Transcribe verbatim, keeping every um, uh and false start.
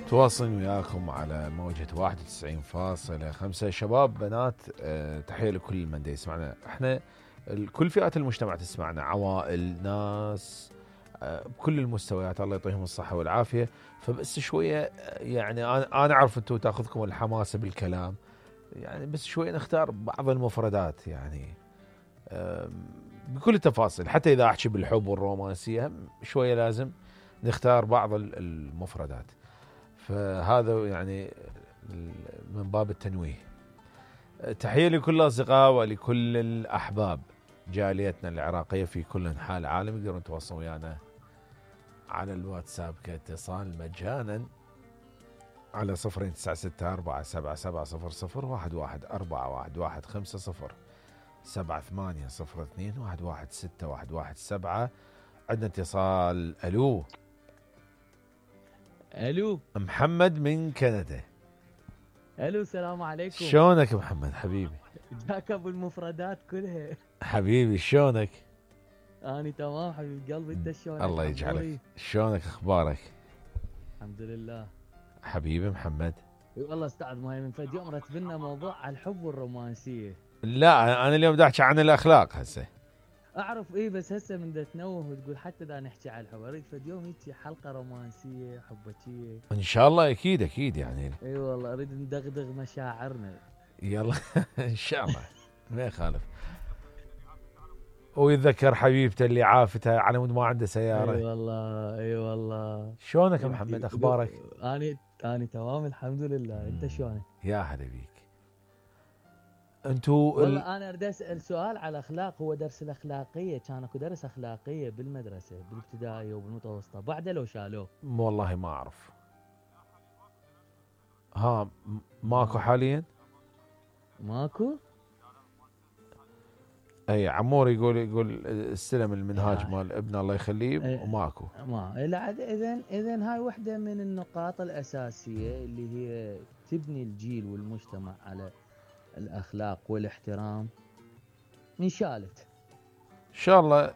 تواصل وياكم على موجة واحد وتسعين فاصلة خمسة. شباب بنات، أه تحية لكل من دا يسمعنا. احنا كل فئات المجتمع تسمعنا، عوائل، ناس، أه بكل المستويات، الله يعطيهم الصحة والعافية. فبس شوية يعني انا انا اعرف انتم تاخذكم الحماسة بالكلام، يعني بس شوية نختار بعض المفردات يعني أه بكل التفاصيل. حتى اذا احكي بالحب والرومانسية شوية لازم نختار بعض المفردات. فهذا يعني من باب التنويه. تحية لكل الأصدقاء ولكل الأحباب جاليتنا العراقية في كل أنحاء العالم. يقدرون يتواصلون ويانا على الواتساب كاتصال مجانا على صفرين تسعة ستة أربعة سبعة سبعة صفر صفر واحد واحد أربعة واحد واحد خمسة صفر سبعة ثمانية صفر اثنين واحد واحد ستة واحد واحد سبعة. عندنا اتصال. ألو الو محمد من كندا. الو السلام عليكم. شلونك محمد حبيبي؟ جاك ابو المفردات كلها حبيبي شلونك؟ اني تمام حبيب قلبي، انت شلونك؟ الله يجعلك. شلونك اخبارك؟ الحمد لله حبيبي محمد. اي والله استاذ ماي من فد يوم رتب لنا موضوع على الحب والرومانسيه. لا انا اليوم بدي احكي عن الاخلاق هسه. اعرف ايه، بس هسه من دا تنوه وتقول حتى دا نحكي على الحب، اريد فد يوم هيك حلقه رومانسيه حبكيه ان شاء الله. اكيد اكيد يعني. اي والله اريد ندغدغ مشاعرنا. يلا ان شاء الله ما يخالف. ويتذكر حبيبته اللي عافته على مود ما عنده سياره. اي والله اي والله. شلونك محمد اخبارك؟ اني اني تمام الحمد لله، انت شلونك؟ يا هلا بيك. انتو والله ال... انا اريد اسال سؤال على الاخلاق. هو درس الاخلاقيه كان اكو درس اخلاقيه بالمدرسه بالابتدائيه وبالمتوسطه بعده لو شالوه؟ والله ما اعرف. ها ماكو حاليا؟ ماكو؟ اي عمور يقول يقول استلم المنهاج مال ابنه الله يخليه وماكو. ما لا اذا اذا هاي وحده من النقاط الاساسيه اللي هي تبني الجيل والمجتمع على الاخلاق والاحترام. انشالت ان شاء الله